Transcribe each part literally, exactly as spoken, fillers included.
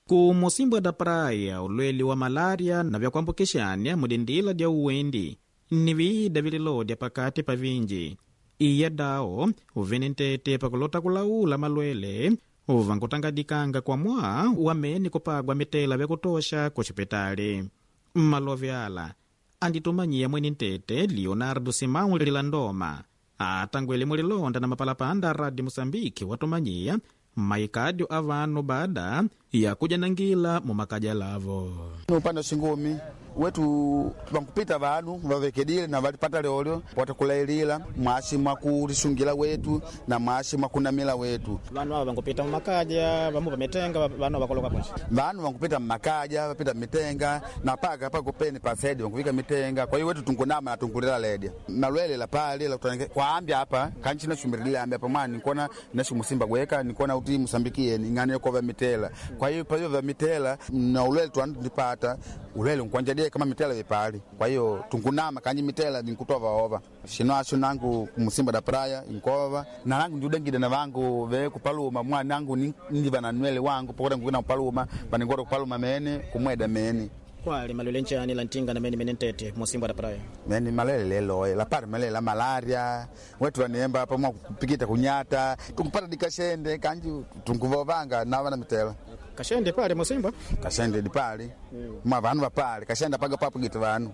Ku Mocímboa da Praia, ulwele wa malária na vyakuambukixania mudindila dya uwendi ni viida vililodya pakati pa vinji. Iya dao uvene ntete pakulota kulaula malwele uvankutangadikanga kwa mwaa wamene kupagwa mitela vyakutosha kuxipitali. Mmalove ala anditumanyiya mwene ntete Leonardo Simão Lilandoma atangwele mulilonda na mapalapanda a Rádio Moçambique watumanyiya maikadio a vanu baada ya kujanangila mumakaja lavo. Upande wa shingumi wetu vankupita vanu vavekedile na valipata lyolyo watakulailila mwashi mwakulishungila wetu na mwashi mwakunamila wetu. Vanu ava vankupita mumakaja vamu vamitenga vanu vakoloka ponje Vanu vankupita mmakaja vapita mmitenga na paka pakupeni pasedi vankuvika mitenga. Kwa hiyo wetu tunkunama na tunkulila ledya malwele la pali la kutange kwaambya apa kanchi nashumirilile ambi apa mwana nikona nashumusimba gweka nikona uti musambikieni ing'ano yokova mitela. Kwa hiyo payo vya mitela na ulwele twandipata ulwele nkwanjadie kama mitela vipali. Kwa hiyo tunkunama kanji mitela ninkutova ova shino asho nangu kumusimba da praia inkova na nangu ndiudengide na vangu ve kupaluma mwana nangu ni- ndiva na nwele wangu pokota ngukina kupaluma paningota kupaluma mene kumweda mene kwali malwele nchani la ntinga na mene mene ntete Mocímboa da Praia. mene malele leloe lapari malele la malaria wetu vaniemba pamwa kupikita kunyata tunkupata dikashende kanji tunkuvovanga nava na mitela Kashende pale Mocímboa kashende dipali mwa vanu vapali kashende paga papo gitu vanu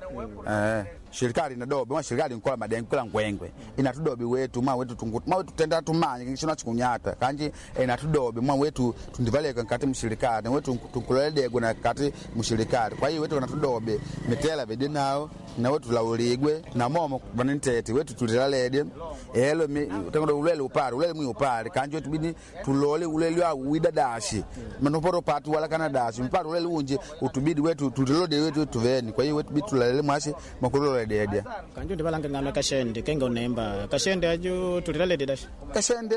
eh shirikali inadobe mwa shirikali nkola madengo kila ngwengwe inatudobi wetu mwa wetu tungu mwa wetu tenda tumanye kishona chikunyata kanji inatudobi mwa wetu tundivaleka nkati mshirikali wetu tunkuloledegwe na kati mshirikali kwa hiyo wetu kanatudobe mitela bedi nao na wetu lauligwe na momo vanintete wetu tulilalede elo mi- tangodo ulele upale ulele mwi upale kanji wetu bidi tulole ulele wa widadashi manoporo patu wala kana dashi mpale ulele unje utubidi wetu tulilode wetu tuveni kwa hiyo wetu bidi tulalele mwashi makulole dedia kanju ndivalanga ng'ano ya kashende kenga unemba kashende aju tulilalede dashi kashende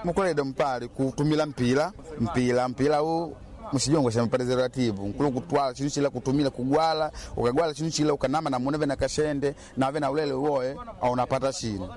mukulede mpale kutumila mpila mpila mpila u mushijongo sha preservative nkulu kutwala chinu chila kutumila kugwala ukagwala chinu chila ukanama na muneve na kashende nave na ulele uoe au unapata shinu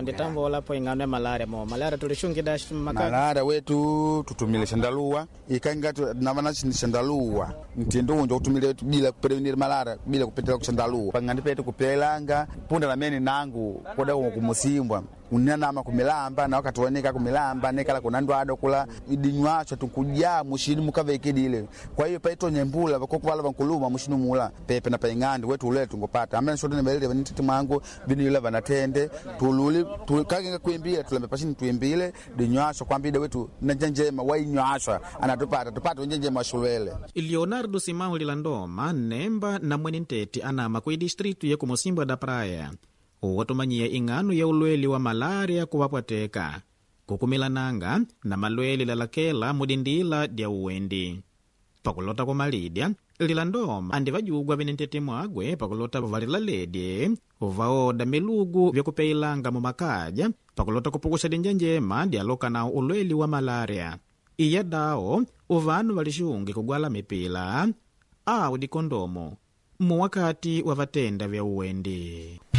nditambola po ing'ano ya malaria mo malaria tulishungi dashi mumakaja malaria wetu tutumile shandaluwa ikanga navana shandaluwa mtindo unja kutumile wetu bila kuprevenir malaria bila kupitila kushandaluwa pangandi petu kupelanga punda lamene nangu koda kumusimbwa unanama kumilamba na wakati wanika kumilamba nekala kuna ndwado kula idinywacho tunkujaa mushini mukavekidile kwa hiyo paitonya mbula vakokuvala vankuluma mushini mula pepe na paing'andi wetu ulele tungopata amene shotene valile vanititi mwangu vinila vanatende tululi tu- kakenga kuimbile tulambe pashini tuimbile dinywasho kwambide wetu nanjenjema wainywashwa anatupata tupate wenjenjema washulwele Leonardo Simão Lilandoma nemba na mwene ntete anama ku distritu ya ku Mocímboa da Praia watumanyiya ing'ano ya ulwele wa malária kuvapwateka kukumilananga na malwele lalakela mudindila dya uwendi. Pakulota kumalidya Lilandoma andi vajugwa vene ntete mwagwe pakulota valilaledye vaoda milugu vyakupeilanga mumakaja pakulota kupukusha dinja njema dyaloka nawo ulwele wa malária. Iya dao uvanu valixungi kugwala mipila au dikondomo muwakati wa vatenda vya uwendi.